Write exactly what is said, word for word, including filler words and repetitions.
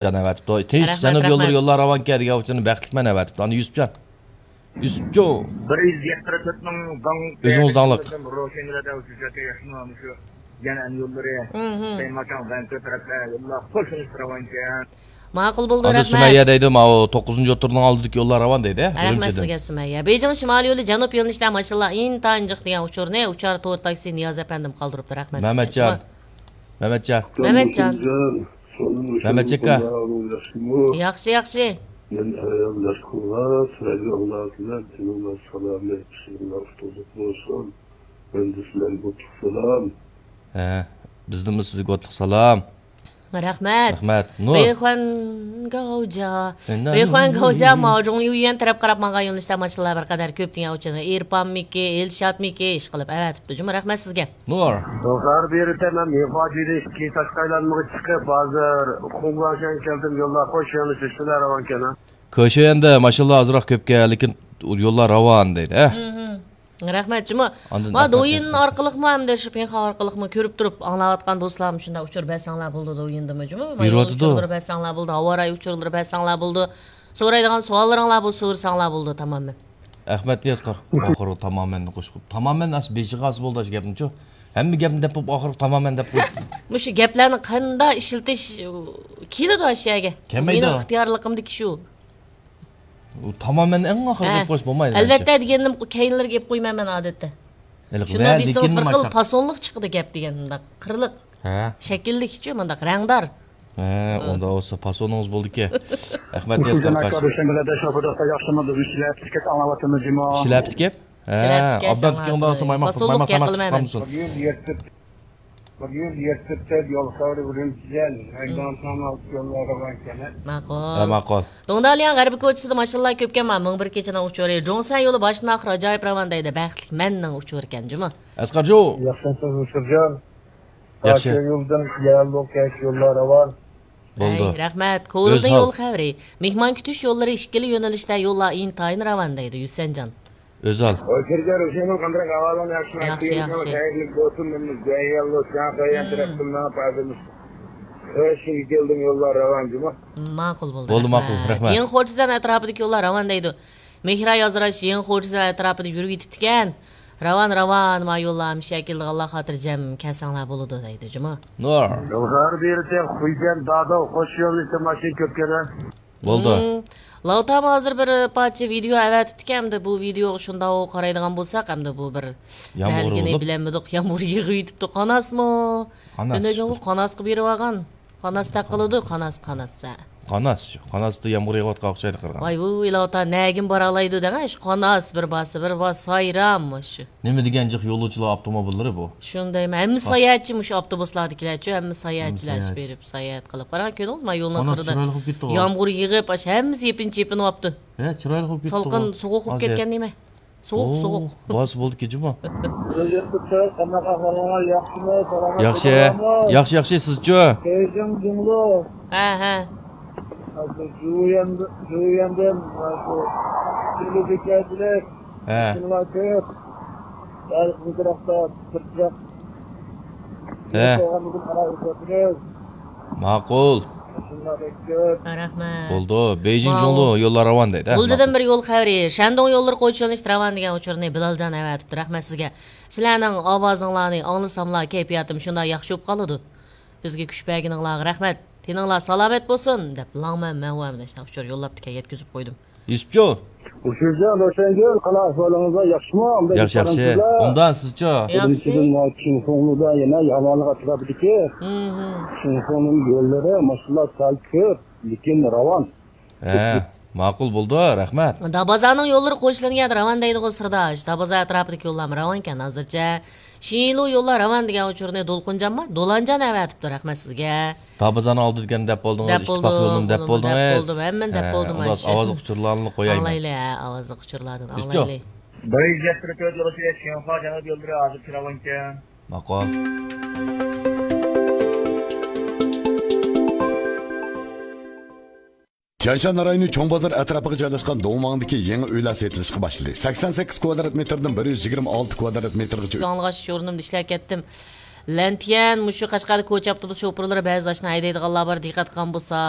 جان ئەۋەتىپتۇ. تىنچ رەھمەت، جەنۇب يوللىرى رەھمەت. يوللار راۋانكەن دېگەن ئۇچۇرنى بەختلىك مەن ئەۋەتىپتۇ. ئانا يۈسۈپجان. يۈسۈپجو. بىر يۈز يەتتە تۆتنىڭ داڭ ئۆزىڭىز داڭلىق. روشەنگۈلەردە ئۇچۇرجاكى ياخشىمۇ مۇشۇ يەنە ئەن يوللىرى. مھم. سەيماكان، ۋەنكۆ تەرەپلەر يوللار قوشۇلۇپ راۋانكەن. ماقۇل بولدى، ئاندىن رەھمەت. سۈمەييە دەيدۇ، ماۋۇ توققۇزىنچى ئوتتۇرىنىڭ ئالدىدىكى يوللار راۋان دەيدۇ، ھە، رەھمەت ئۈرۈمچىدىن. سىزگە، سۈمەييە. بېيجىڭ شىمالىي يولى جەنۇب يۆنىلىشىدە ماشىنىلار ئىنتايىن جىق دېگەن ئۇچۇرنى ئۇچار تور تاكسى نىياز ئەپەندىم قالدۇرۇپتۇ، رەھمەت سىزگە. مەمەتجان. مەمەتجان. مەمەتجان. مەمەتجان ئاكا. ياخشى، ياخشى. مەن ئايال ياشقۇنلار، سىلەرگە ئاللا بىلەن تېنىڭلار سالامەت، ئىشىڭلار ئۇتۇقلۇق بولسۇن. مەن دە سىلەرگە ئوتلۇق سالام. ھە، بىزدىنمۇ سىزگە ئوتلۇق سالام. رەھمەت. رەھمەت. نۇر. بېيخۇەن گاۋجا. ئەنە، بېيخۇەن نۇر، گاۋجا، نۇر. ماۋۇ جۇڭلى يۈەن تەرەپ قاراپ ماڭغان يۆنىلىشتە ماشىنىلار بىر قەدەر كۆپ دېگەن ئۇچۇرنى ئېرپانمىكى، ئېلشاتمىكى ئىشقىلىپ ئەۋەتىپتۇ جۇمۇ. رەھمەت سىزگە. نۇر. زوھار بېرىسەن، مەن مېخاجىدىن ئىككى تاشقا ئايلانمىغا چىقىپ، ھازىر خۇڭگاڭشەن كەلدىم، يوللار خوش، يەنە چۈشتىلەر راۋانكەن، ھە؟ كۆشەندە ماشىنىلار ئازراق كۆپكەن، لېكىن يوللار راۋان دەيدۇ، ھە؟ مھم. رەھمەت جۇمۇ. ئاندىن ما، ئەخمەت دويىن ئەخمەت. ئارقىلىقمۇ ھەمدە شۇ پىڭخا ئارقىلىقمۇ كۆرۈپ تۇرۇپ ئاڭلاۋاتقان دوستلارمۇ شۇنداق ئۇچۇر بەرسەڭلار بولىدۇ، دويىندىمۇ جۇمۇ. ما، يول بېرىۋاتىدۇ. ئۇچۇرلىرى بەرسەڭلار بولىدۇ، ھاۋا رايى ئۇچۇرلىرى بەرسەڭلار بولىدۇ. سورايدىغان سوئاللىرىڭلار بولسا سورىساڭلار بولىدۇ، تامامەن. ئەخمەت ئەسقەر، ئاخىرى تامامەننى قوشۇپ. تامامەن ئەس بېشىغا ئاس بولدى ئاشۇ گەپنىچۇ. ھەممە گەپنى دەپ بولۇپ، ئاخىرى تامامەن دەپ قويۇپ. مۇشۇ گەپلەرنى قانداق ئىشلىتىش كېلىدۇ ئاشۇ يەرگە؟ كەلمەيدۇ. مېنىڭ ئىختىيارلىقىمدىكى شۇ. ئۇ تامامەن ئەڭ ئاخىرى ھە. دەپ قويۇش بولمايدۇ، ئەلۋەتتە، مەنچە. دېگەندىن كەينلىرىگە ئېلىپ قويمايمەن ئادەتتە. ھېلىقى شۇنداق ۋە دېسىڭىز، لېكىن بىر خىل مايتاق. پاسونلۇق چىقىدۇ گەپ دېگەن، مۇنداق قىرلىق. ھە. شەكىللىكچۇ، مۇنداق رەڭدار. ھە، ھە. ئۇنداق بولسا پاسونىڭىز بولدىكەن. ئەخمەت ياسكار قاش. ياخشىمۇ، بىز سىلەر ئەپتىكەپ ئاڭلاۋاتىمىز جۇمۇ. سىلەر ئەپتىكەپ؟ ھە، سىلەر ئەپتىكەپ ئابدان ئاڭلاۋاتىمىز. تىكىڭدا بولسا مايماق، پاسونلۇق مايماق سايماق گەپ قىلىمەن. چىققان بولسۇن. بىر يۈز يەتتە، بىر يۈز يەتتە يول خەۋىرى ئۈرۈمچىدىن، مم. مەيدان ساناق يوللارغا كەنە. ماقۇل. ھە، ماقۇل. دۇڭدالياڭ غەربىي كوچىسىدا ماشىنىلار كۆپكەن، ما، مىڭ بىر كېچىنىڭ ئۇچۇرى. جۇڭسەن يولى باشتىن ئاخىر ئاجايىپ راۋان دەيدۇ. بەختلىك مەننىڭ ئۇچۇرى ئىكەن جۇمۇ. ئەسقەرجۇ. ياخشىمۇسىز، سىرجان؟ ياخشى. يولدىن يەرلىك كەش يوللار راۋان. بولدى. ھەي، رەھمەت. كورلدىن يول خەۋىرى. مېھمان كۈتۈش يوللىرى ئىككىلا يۆنىلىشتە يوللار ئىنتايىن راۋان دەيدۇ، يۈسەنجان. ئۆزال. ئوي، كىرگەن رۇشەننىڭ قانداق ئەھۋالىڭ ياخشىمۇ؟ ياخشى، ياخشى. خەيرلىك بولسۇن، مەن جەيھەنلىك شاڭخەييەن تەرەپتىن ماڭا پايدىلىنىش. خەشىگە كەلدىم، يوللار راۋان جۇمۇ. ماقۇل بولدى، بولدى، ماقۇل، رەھمەت. يېڭى خورچىزان ئەتراپىدىكى يوللار راۋان دەيدۇ. مېھرا يازراش يېڭى خورچىزان ئەتراپىدا يۈرۈپ يېتىپتىكەن. راۋان، راۋان، ما يوللار ھەمىشە كېلىدىغانلار خاتىرجەم كەلسەڭلار بولىدۇ دەيدۇ جۇمۇ. نۇر. يوللار بېرىسەن، خۇيجەن داداۋ، خوش يوللىشىپ ماشىنا كۆپكەن. بولدى. مم. لاۋتام ھازىر بىر پارچە ۋىدېئو ئەۋەتىپتىكەن، ئەمدى بۇ ۋىدېئوغا شۇنداق قارايدىغان بولساق، ئەمدى بۇ بىر يامغۇر نەلىگىنى بولۇپ. بىلەلمىدۇق، يامغۇر يېغىۋېتىپتۇ، قاناسمۇ؟ قاناس. ئۈنۈگۈن قاناسقا بېرىۋالغان. قاناس تەق قىلىدۇ، قاناس، قاناس، ھە. قاناس شۇ. قاناستا يامغۇر يېغىۋاتقان ئوخشايدۇ قارىغان. ۋاي، ۋۇ، ئىلاۋۇتا، نەگىن بارالايدۇ دەڭە، شۇ قاناس بىر باسا، بىر باس، سايرام شۇ. نېمە دېگەن جىق يولۇچىلار ئاپتوموبىللىرى بۇ. شۇندايمۇ، ھەممە ساياھەتچى مۇشۇ ئاپتوبۇسلاردىكىلەرچۇ، ھەممە ساياھەتچىلەر بېرىپ ساياھەت قىلىپ. قاراڭ، كۆردىڭىزمۇ، يولنىڭ قىرىدا يامغۇر يېغىپ، ئاشۇ ھەممىسى يېپىنچا يېپىنىۋاپتۇ. ھە، چىرايلىق بولۇپ كېتىپتۇ. سالقىن، سوغۇق بولۇپ كەتكەن نېمە؟ سوغۇق، سوغۇق. بولسا بولدىكى جۇمۇ. قانداق ئەھۋالىڭلار، ياخشىمۇ، سالامەت؟ ياخشى. ياخشى، ياخشى، سىزچۇ؟ بېيجىڭ جۇڭلۇ. ھە، ھە. ھازىر جۇيەن، جۇيەندىن، ھازىر تېلېۋىزور كەلدى. ھە. شۇنىڭلار كۆپ. ھەر قىزغىنراقتا، سىرتراق. ھە. ماقۇل. رەھمەت. بولدى. بېيجىڭ جۇڭلۇ يوللار راۋان دەيدۇ. ھە، غۇلجىدىن ماقۇل. بىر يول خەۋىرى. شەندۇڭ يوللىرى قويچىلىنىشتا راۋان دېگەن ئۇچۇرنى بىلالجان ئەۋەتىپتۇ. رەھمەت سىزگە. سىلەرنىڭ ئاۋازىڭلارنى ئاڭلىساملا كەيپىياتىم شۇنداق ياخشى بولۇپ قالىدۇ. بىزگە كۈچ بەرگىنىڭلارغا رەھمەت. تېنىڭلار سالامەت بولسۇن، دەپ لاڭمەن مەنۋۇ ھەمدە شۇنداق ئۇچۇر يوللاپتىكەن، يەتكۈزۈپ قويدۇم. يۈسۈپجان. ھوشۇمجان، روشەنگۈل، قانداق ئەھۋالىڭىزلار، ياخشىمۇ؟ ياخشى، ياخشى. ئوبدان سىزچۇ؟ ياخشى. بىرىنچىدىن، مانا چىڭفېڭلۇدا يەنە ياۋانلىق ئەتراپىدىكى، مم، چىڭفېڭلۇنىڭ يوللىرى ماشىنىلار سەل كۆپ، لېكىن راۋان. ھە، ماقۇل بولدى، رەھمەت. دابازانىڭ يوللىرى قوشۇلۇنغان راۋان دەيدىغۇ سىرداش. دابازا ئەتراپىدىكى يوللارمۇ راۋانكەن ھازىرچە. شىنلۇ يوللار راۋان دېگەن ئۇچۇرنى دولقۇنجانمۇ؟ دولانجان ئەۋەتىپتۇ، رەھمەت سىزگە. دابازانىڭ ئالدىدىكىنى دەپ بولدىڭىز، دەپ ئىتتىپاق بولدۇم، يولىنىمۇ دەپ بولدىم، بولدىڭىز. دەپ بولدۇم، ھەممىنى دەپ ھە، بولدۇم، ئۇنداق ئاشۇ. ئاۋازلىق ئۇچۇرلارنى قويايمەن. ئاڭلايلى، ھە، ئاۋازلىق ئۇچۇرلاردىن ئاڭلايلى. بىر يۈز يەتتە تۆت يولى شىنخۇا جەنۇب يوللىرى ھازىر كىراۋانكەن. ماقۇل. تيەنشان رايونى چوڭ بازار ئەتراپىغا جايلاشقان دۇڭۋاڭدىكى يېڭى ئۆيلەر سېتىلىشقا باشلىدى. سەكسەن سەككىز كۋادرات مېتىردىن بىر يۈز يىگىرمە ئالتە كۋادرات مېتىرغىچە ئۆي. ئاڭلىغاچ شورۇنۇمدا ئىشلەپ كەتتىم. لەنتىيەن، مۇشۇ قەشقەردە كوچا ئاپتوبۇس شوپۇرلىرى بەزى ئاشۇنداق ھەيدەيدىغانلار بار، دىققەت قىلغان بولسا.